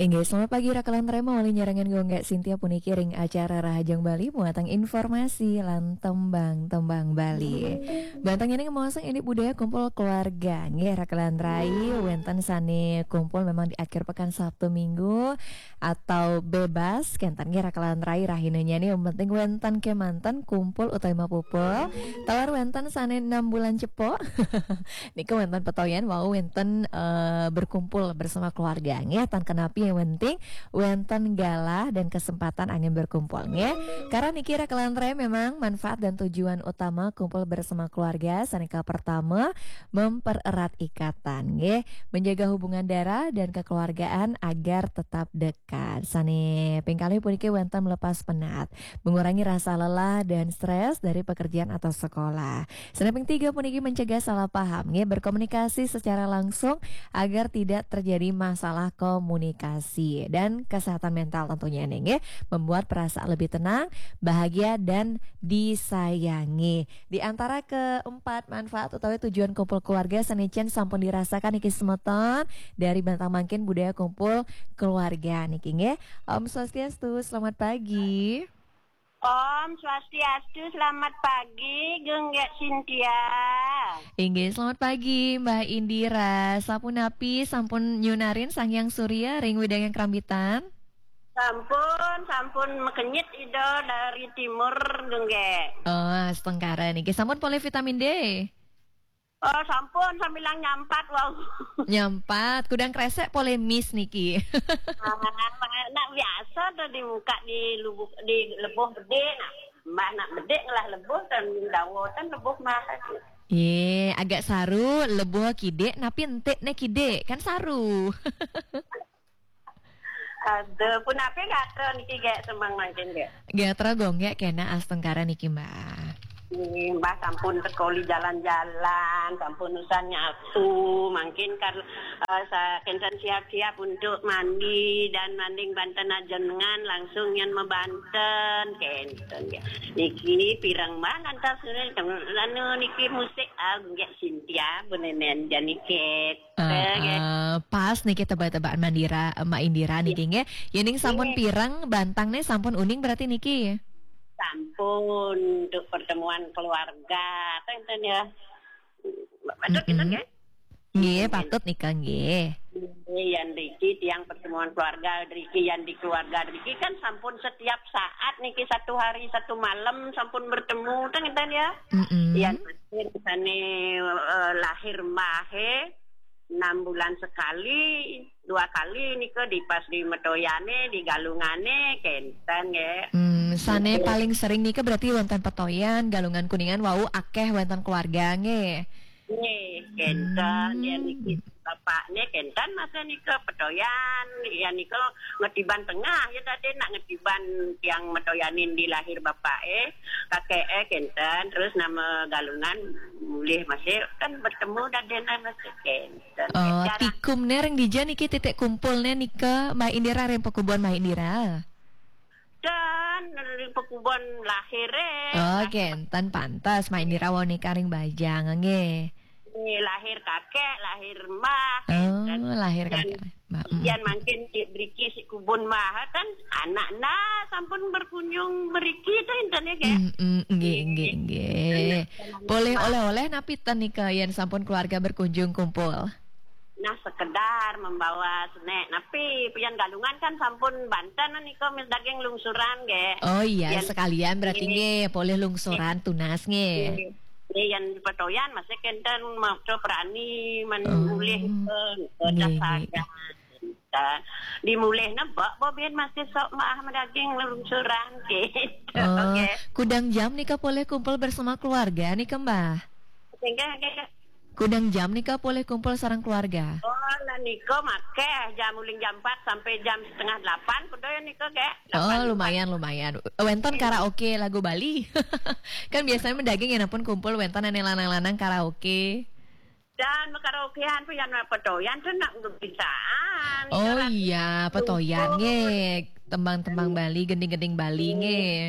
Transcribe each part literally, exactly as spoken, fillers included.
Inggih, selamat pagi, Raka lan Rema, malih nyarengin Gung Gék Sintia puniki ring acara Rahajeng Bali, muatang informasi lan tembang-tembang Bali. Bantang niki ngemaosang indik budaya kumpul keluarga. Nggih, Raka lan Rai, wénten sané kumpul memang di akhir pekan Sabtu Minggu atau bebas, kénten nggih, Raka lan Rai, rahinanya nih, yang penting wénten kémanten kumpul utawi mapupul. Taler wénten sané enam bulan cepok. Nika wénten petoyan wau wénten, eh, berkumpul bersama keluarga, nggih. Tan kenapi yang penting wénten galah dan kesempatan anggén berkumpul, nggih. Karena niki Raka lan Rai, memang manfaat dan tujuan utama kumpul bersama keluarga sané pertama mempererat ikatan, nggih. Menjaga hubungan darah dan kekeluargaan agar tetap dekat. Sané ping kalih puniki wénten melepas penat, mengurangi rasa lelah dan stres dari pekerjaan atau sekolah. Sané ping tiga puniki mencegah salah paham, nggih, berkomunikasi secara langsung agar tidak terjadi masalah komunikasi dan kesehatan mental tentunya nih, nggih, membuat perasaan lebih tenang, bahagia dan disayangi. Di antara keempat manfaat utawi tujuan kumpul keluarga sané sampun dirasakan niki semeton dari bantang mangkin budaya kumpul keluarga niki, nggih. Om Swastiastu, selamat pagi. Om Swastiastu, selamat pagi, Gung Gék Sintia. Inggih, selamat pagi, Mbah Indira. Sapunapi sampun nyunarin Sang Hyang Surya ring wewidangan Krambitan? Sampun, sampun makenyit Ida dari timur, Gung Gék. Oh, astungkara niki. Sampun polih vitamin D? Oh, sampun, sambilang nyampat, wau. Nyampat, kudang kresek polih mis niki. Ah, nak biasa to di muka di lubuk, di lebuh bedé, nah. Mbah nak bedé ngelah lebuh, tan dawa, tan lebuh mah. Yé, agak saru, lebuh kidik, napi entik né kidik, kan saru. Aduh, punapi gatra niki, Gék, semeng mangkin, Gék? Gatra Gung Gék kénak astungkara niki, Mbah. Nggih, Mbah sampun sekoli jalan-jalan, sampun usan nyatu, mangkin kar, eh, sa-, kénten siap-siap untuk mandi dan manding banten ajenengan langsung nyén mabanten, kénten ya. Niki pireng Mbah lantas anu niki musik, ah, Gék Sintia, benenen jani, Gék. Eh, eh, pas niki tebak-tebakan Mandira, eh, Mak Indira niki, nggih. Yéning sampun pireng, bantang né sampun uning berarti niki. Sampun untuk pertemuan keluarga, ten, ten ya. Patut kita, nggih? Nggih, patut nika, nggih. Nggih, yan riki tiang pertemuan keluarga riki, yan di keluarga riki kan sampun setiap saat niki, satu hari satu malam sampun bertemu, ten, ten ya. Mm-mm. Yan Sane, eh, lahir Mbah, eh, enam bulan sekali, dua kali nika di pas di Metoyane, di Galungane, kenten nggih. Hmm, sane paling sering nika berarti wonten Petoyan, Galungan Kuningan wau akeh wonten keluarga nggih. Nggih, kenten ya niki. Bapakne kenten masa nika Petoyan, ya nika Ngetiban Tengah ya tadi nak Ngetiban tiang Metoyanin di lahir bapake, kakeke kenten, terus nama Galungan mulih masih kan bertemu dadene masih kenten. Oh, jarang. Tikumne ring dija niki titik kumpulne nika Mbah Indira ring pekubon Mbah Indira? Dan ring pekubon lahire. Oh, kenten pantes Mbah Indira wau nika ring Bajang nggih. Nggih, lahir kakek, lahir mbah. Oh, lahir kakek, mbah. Yan mangkin di, driki si kubun mbah kan anak nda sampun berkunjung mriki to enten ya, Kak? Mm, mm, nggih, nggih, nggih. Boleh oleh-oleh napi ten nika yan sampun keluarga berkunjung kumpul? Nah, sekedar membawa snack napi, pian Galungan kan sampun banten nika mis daging lungsuran nggih. Oh iya, sekalian berarti nggih, polih lungsuran tunas nggih. Nggih, yan Petoyan masih kenten maca prani men mulih ke, ke nggih, nggih. Dimulih nebak bobin masih sok maah daging lungsuran gitu. Oh, nggih. Kudang jam nika polih kumpul bersama keluarga nika, Mbah? Nggih, nggih. Kudang jam nika polih kumpul sareng keluarga? Oh, lah nika makeh jam uling jam empat sampai jam setengah delapan kudu ya nika, Kak. Oh, lumayan, lumayan. Wenten karaoke lagu Bali. Kan biasanya daging ya ampun kumpul wenten ane lanang-lanang karaoke. Dan karaokean pun yang Petoyan tuh nak kebiasaan. Oh iya, Petoyan nggih. Tembang-tembang Bali, gending-gending Bali nggih.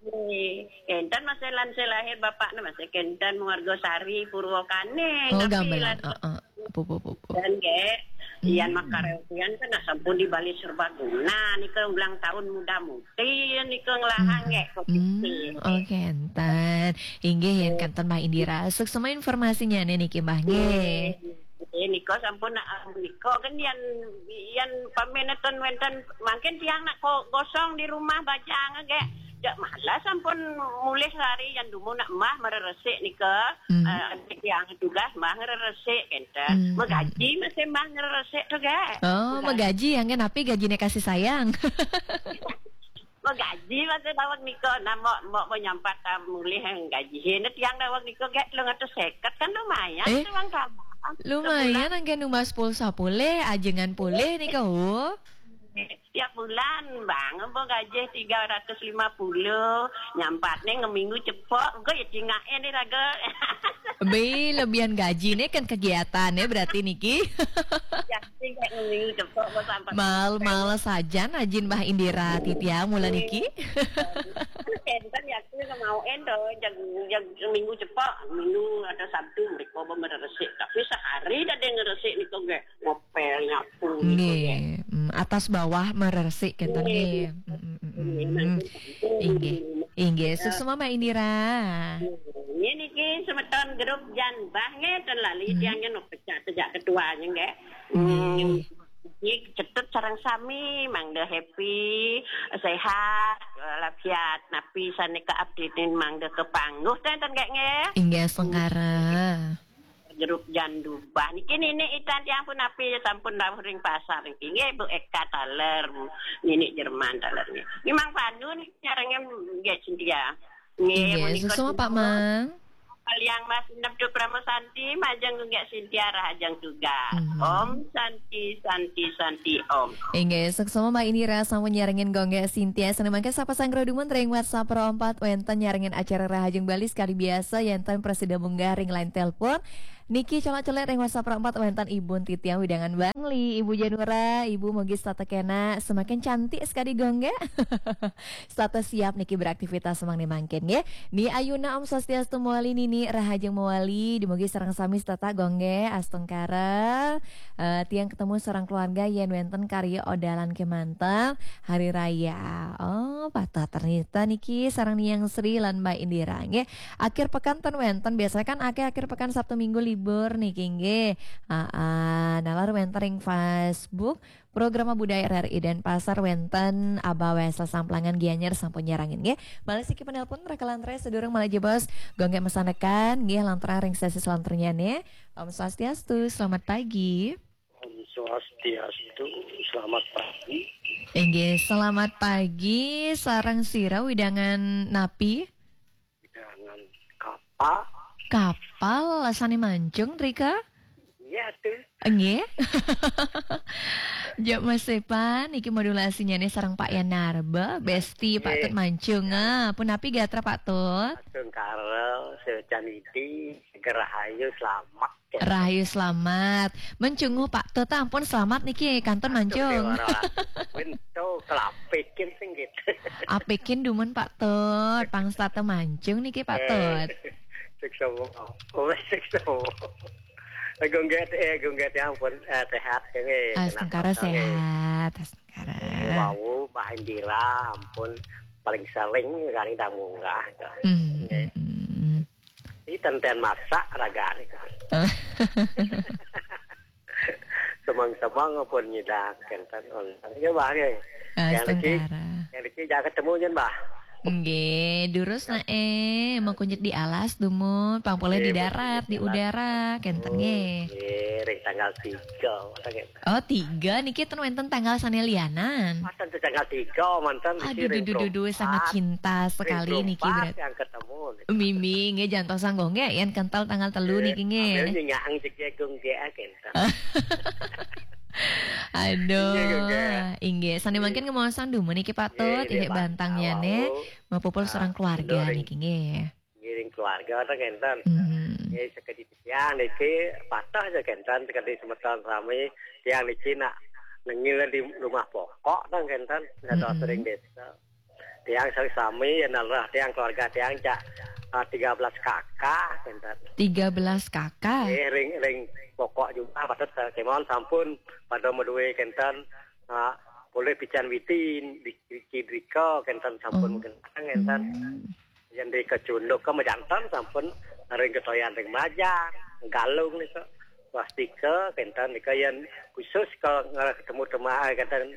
Nggih, kenten masih lan sih lahir bapaknya masih kenten Muargosari Purwokane. Oh, gamelan. Heeh. Pupu, pupu. Dan nggih, Yan makaraokean kan sampun dibali serbaguna nika ulang tahun muda mudi nika ngelahang nggih. Hmm, oke, enten. Inggih, yen kanten Mbah Indira. Suksma informasinya niki, Mbah, nggih. Nggih, nika sampun nak nika kan yan, yan pameneton wenten mangkin tiang nak ko-, kosong di rumah bajang nggih. Jak malah sampun mulih lari yan dumun nak Mbah mereresik nika. Hmm. Eh, tiang tugas Mbah ngereresik kenten. Hmm. Megaji masih Mbah ngereresik tu nggih. Oh, megaji yang kan api gajine kasih sayang. Megaji masih daweg nika. Nah, mbok, mbok menyampat, ah, mulih gaji. Hene tiang daweg nika gek telung atus seket kan lumayan. Eh, uang tambahan. Lumayan anggen numbas pulsa pulih, ajengan pulih nika, oh. Tiap bulan, Bang, mbok gaji tiga ratus lima puluh, nyampatne ngeminggu cepok, engko ya cingaken ni raga. Be, lebihan gajine kan kegiatane berarti niki. Ya, sing kayak ngeminggu cepok, mbok sampai. Mal, males saja najin Mbah Indira titiang mula niki. Enten ya, aku mau endo, jag, jag minggu cepok, minggu atau Sabtu mereka mau meresik. Tapi sehari dah dia ngeresik ni kok, ngopel, nyapu, gitu, ya. Nggih, mm, atas bawah meresik kenten nggih. Nggih. Mm, mm, mm, mm, mm. Nggih, nggih. Inggih, suksma Mbak Indira. Nggih, niki semeton grup Jan Bah nggih, ten lali tiang yen pecah sejak ketuanya nggih. Nggih. Hmm, niki cetut sareng sami, mangda happy, sehat, walafiat, napi sane ke-update-in mangda kepangguh ten, ten nggih, nggih. Inggih, sengkara. Grup Jan Dubah. Niki Nini Itan tiang pun api sampun rawuh ring pasar niki. Nggih, Bu Eka taler, Nini Jerman taler nggih. Memang Panu niki nyarengin nggih Cynthia. Nggih, nggih, menika suksma, Pak Mang. Kaliang Mas Neptu Prama Santi, majeng nggih Cynthia Rahajeng juga. Mhm. Om Santi, Santi, Santi, Om. Inggih, suksma Mbak Indira sampun nyarengin Gung Gek Sintia. Sane mangke sapa sanggra dumun ring WhatsApp ro empat wenten nyarengin acara Rahajeng Bali sekali biasa yenten prasida munggah ring line telepon. Niki colak-colek ring WhatsApp ro empat wenten Ibu Titiang wewidangan Bangli, Ibu Janura, Ibu mugi setata kena semakin cantik sekali Gung Gek. Setata siap niki beraktivitas mangke mangkin nggih. Ni Ayuna Om Swastiastu mawali Nini Rahajeng mawali dumugi sareng sami setata Gung Gek astungkara. Eh, tiang ketemu sareng keluarga yen wenten karya odalan kemanten hari raya. Oh, patah ternyata niki sareng Niang Sri lan Mbak Indira nggih. Akhir pekan ten wenten biasanya kan akhir akhir pekan Sabtu Minggu libur niki nggih. Ah, ah, nalar wenten ring Facebook Program Budaya R R I Denpasar wenten Aba Wesel Samplangan Gianyar sampun nyarengin nggih. Malih siki penelpon rekalan re sedurung malih jebos Gung Gek mesanekan nggih lanturang ring sesi selanturnya nih. Om Swastiastu, selamat pagi. Om Swastiastu, selamat pagi. Inggih, selamat pagi. Sareng sira wewidangan napi? Wewidangan Kapal. Kapal, sane Mancung, Rika? Iya, tuh. Nggih. Jok Mas Sepan, niki modulasinya nih sareng Pak Yanarba, Besti Pak Tut Mancung. Ah, pun napi gatra Pak Tut? Astungkara, secan idi, rahayu, selamat. Rahayu selamat. Mencunguh Pak Tut, ampun selamat niki kantun Mancung. Astungkara. Winto kelapikin sing gitu. Apikin dumun Pak Tut, pangstata Mancung niki Pak Tut. Siksa. Oh, siksa. Gung Gek, eh, Gung Gek, ya ampun, eh, sehat, nggih. Astungkara sehat, astungkara. Wau, Mbah Indira, ampun, paling sering kali dah munggah. Hmm, nggih. Hmm, hmm. Ini tenten masak ragane. Semang-semang pun nyidak, kenten. Ya, Mbah, nggih. Yang niki, astungkara. Yang niki jangan ketemu, nyen, Mbah. Nggih, durus nah, eh, mau kunyit di alas, dumun, pang pole di darat, di udara, kenten, nggih. Nggih, ring tanggal tiga, kenten. Oh, tiga niki ten wenten tanggal sane lianan. Manten tanggal tiga, manten. Aduh, duh, duh, duh, duh, sangat cinta sekali niki berarti. Yang ketemu. Mimi, nggih, jantos anggo, nggih, yen kental tanggal telu niki, nggih. Ambil nyingaang jege Gung Gek, kenten. Aduh, nggih, Gung Gek. Inggih, sane mangkin ngemaosang dumun niki Pak Tut, nggih, nggih, Pak. Bantang ya, ne. Mapupul sareng keluarga niki, nggih. Ngiring keluarga, ten kenten. Hmm. Nggih, sekedi tiang niki patah aja kenten, sekedi semeton sami, tiang niki nak nengil di rumah pokok, ten kenten, nggak tahu sering desa. Tiang sami, sami, ya nalah, tiang keluarga, tiang cak ah, tiga belas K K, kenten. Tiga belas K K? Eh, ring, ring pokok jumlah patut, eh, kemawon sampun pada madué kenten, ah, polih pican witin, di, di, drika kenten sampun. Hmm. Mungkin kenten. Hmm. Yén di kacunduk ka majanten sampun ring ketoyan ring majang, galung nika. Wastika kenten nika yén khusus ka ngarah ketemu tema kenten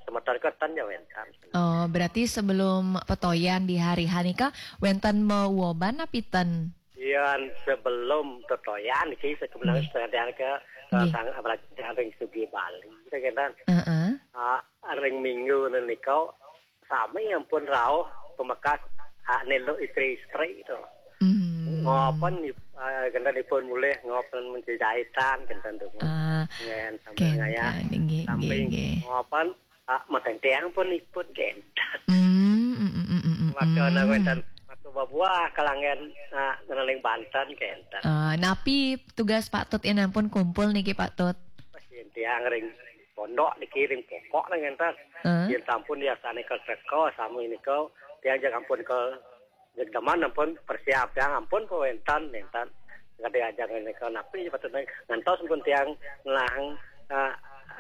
semeton kenten ya wénten. Oh, berarti sebelum petoyan di hari H nika wénten mauoban napi ten? Yén sebelum petoyan niki sekebelah. Nggih. Setengah ke, ke. Nggih. Sang apalagi ring Sugih Bali kenten. Heeh. Ah, ring minggu nika sami ampun rauh pamekas, ah, nelo istri-istri to. Hmm. Ngopen, ah, kenten ipun mulih ngopen menjejahitan kenten to. Ah, ngén sambil kenten, ngayah. Nggih, sambil nggih, nggih. Ngopen, ah, mateng tiang pun ipun kenten. Hmm, mm, mm, mm, mm, maka mm. Wénten, maka babuah kalanggen, ah, ngeneling Banten kenten. Ah, napi tugas Pak Tut yén ampun kumpul niki, Pak Tut? Pas yén tiang ring pondok niki ring pokok nang kenten. Heeh. Yén sampun yasane ka teka sami nika, tiang jeg ampun ka jeg demen ampun persiap tiang ampun ka wénten, wénten. Kadi ajang nika napi patut ngantos pun tiang ngelah, ah,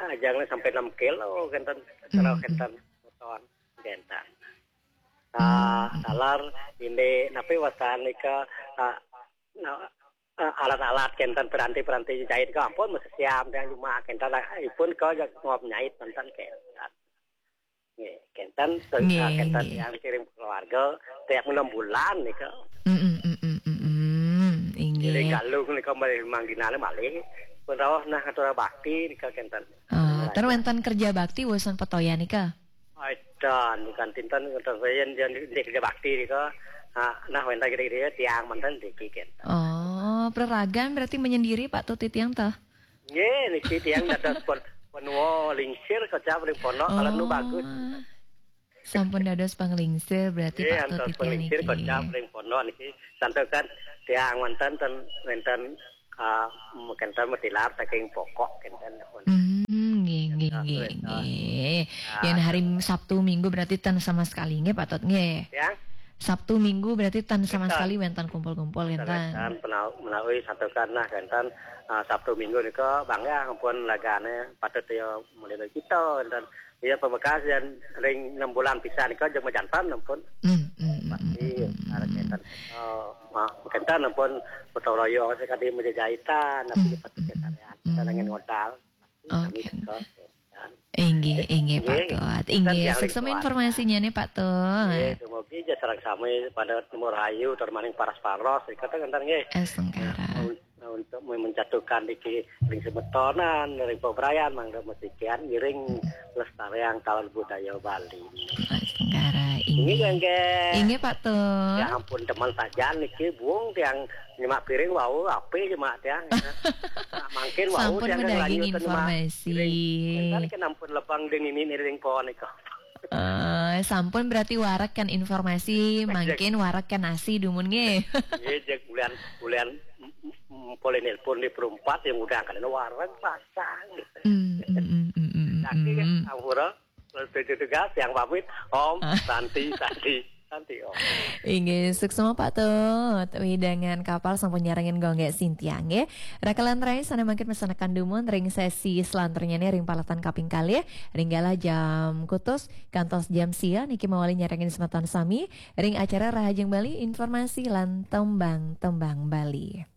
ajang sampai enam kilo kenten. Hmm. Kenten. Beton kenten. Ah, hmm. Taler ini napi wastan nika, ah, nah, eh, alat-alat kenten, piranti-piranti jahit ka ampun masih siam tiang cuma kenten lah, ipun ka ngop nyait kenten kenten. Nggih, kenten, nggih, kenten nggih. Tiang kirim keluarga tiap enam bulan nika. Mm, mm, mm, mm, mm, mm. Inggih. Jadi galung nika malih mangginane malih pun rauh nah atur bakti nika kenten. Ah, terus wénten kerja bakti wusan petoyan nika? Wénten, bukan tinten, wénten saya yang di kerja bakti nika. Ah, nah, wénten kira-kira tiang manten niki kenten. Oh, pereragan berarti menyendiri Pak Tut tiang tah? Nggih, niki tiang dados pon-, ponua lingsir kocap ring pondok, kalau nu bagus. Sampun dados panglingsir berarti. Nggih, Pak Tut antos tiang panglingsir niki. Kocap ring pondok niki. Santukan tiang wénten ten, wénten, ah, kenten matilar saking pokok kenten. Hmm, nggih, nggih, nggih, nggih. Ah. Yén hari Sabtu Minggu berarti ten sama sekali nggih, Pak Tut nggih. Ya. Sabtu Minggu berarti ten sama sekali wénten kumpul-kumpul kenten. Wénten penau-, menawi santukan nah kenten, ah, Sabtu Minggu nika bangga ampun lagane patut ya mulih kita kenten. Ya, pamekas yang ring enam bulan pisan nika jeg majanten ampun. Hmm, hmm, hmm, pasti hmm, hmm, arep hmm. Kenten. Oh, ma-, kenten ampun gotong royong sakadi menjejahitan, tapi hmm, patut hmm, karya. Kita hmm. Dengan modal. Oke. Kami juga, ya. Inggih, inggih, Pak Tut. Inggih, suksma informasinya nih, Pak Tut. Inggih, dumugi aja sareng sami pada umur ayu, tur maning paras-paros, kata kenten nggih. Estengkara. Nah, un-, nah, untuk menjatuhkan niki ring semetonan, ring pebrayan, mangga mesikian ngiring lestariang taun budaya Bali. Estengkara, inggih. Inggih, nggih. Inggih, Pak Tut. Ya ampun, teman saja niki, Bung, tiang nyemak piring wau, api nyemak tiang. Nah, mangkin wau sampun tiang medaging informasi. Piring. Kan ampun lebang ding ini ring pohon nika. Eh, sampun berarti warak kan informasi, mangkin warak kan nasi dumun nggih. Nggih, jeg bulan, bulan, mm, mm, boleh nelpon di perumpat yang udah kan warak pasang gitu. Hmm, hmm, hmm, hmm, hmm, tapi kan hmm. Ampura, tugas yang pamit, Om, ah. Santi, Santi, Santi, Om. Inggih, suksma Pak Tut. Wewidangan kapal sampun nyarengin gonggé sintiang nggih. Rakalan rai sané mangkin masanekan dumun ring sesi selanturnya nih ring paletan kaping kalih. Ring galah jam kutus kantos jam sia niki mawali nyarengin semeton sami ring acara Rahajeng Bali, informasi lan tembang-tembang Bali.